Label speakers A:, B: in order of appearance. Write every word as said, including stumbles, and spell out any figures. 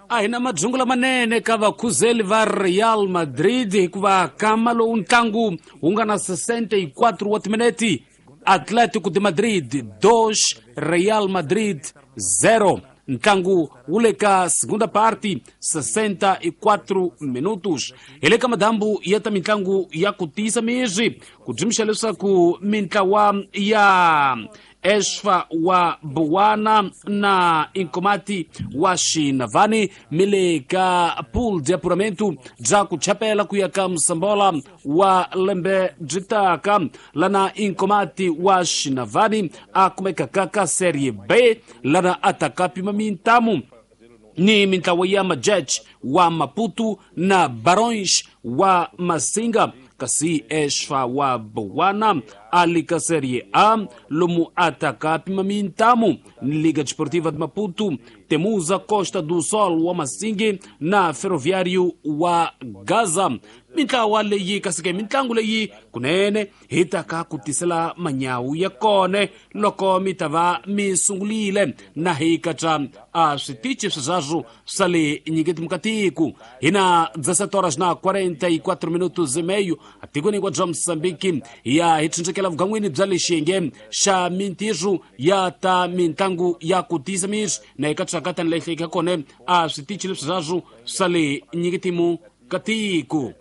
A: A hi na madzungu lamanene ka vakhuzeli va Real Madrid hikuva kama lowu ntlangu wu nga na sessenta e quatro wa timinete, Atlético de Madrid dois, Real Madrid zero. Ntlangu wu le ka segunda parte, sessenta e quatro minutos. Hi le ka madambu ya ta mitlangu ya ku tiyisa mizwi ku dzimixa leswaku mintlawa ya Esfa wa Buwana na Inkomati wa Xinavani mi le ka pool de apuramento bya ku chapela ku ya ka Musambola wa lembe byi taka, lana Inkomati wa Xinavani a kumekaka ka Serie B, lana a taka pima mintamu ni mintlawa ya Majech wa Maputo na Barões wa Masinga, kasi Esfa wa Buwana ali ka Serie A, lomu ataka pima mintamu ni Liga Desportiva de Maputo, Temuza Costa do Sol wa Masingi na Ferroviário wa Gaza. Mintlawa leyi kasi ke mitlangu leyi kunene hi taka ku tisela manyawu ya kone loko mi ta va mi sungulile na hi katsa a switichi sweswaswo swa le nyiketi mukatiku. Hi na dezessete horas na quarenta e quatro minutos e meio atikweni hinkwabyo bya Mosambiki. Ya hi tshunxekela vugan'wini bya le xiyenge xa mintirho ya ta mitlangu ya ku tiyisa miri na hi katsaka tani leyi hlekeka kone a switichi lesweswaswo swa le nyiketimu ka tiko.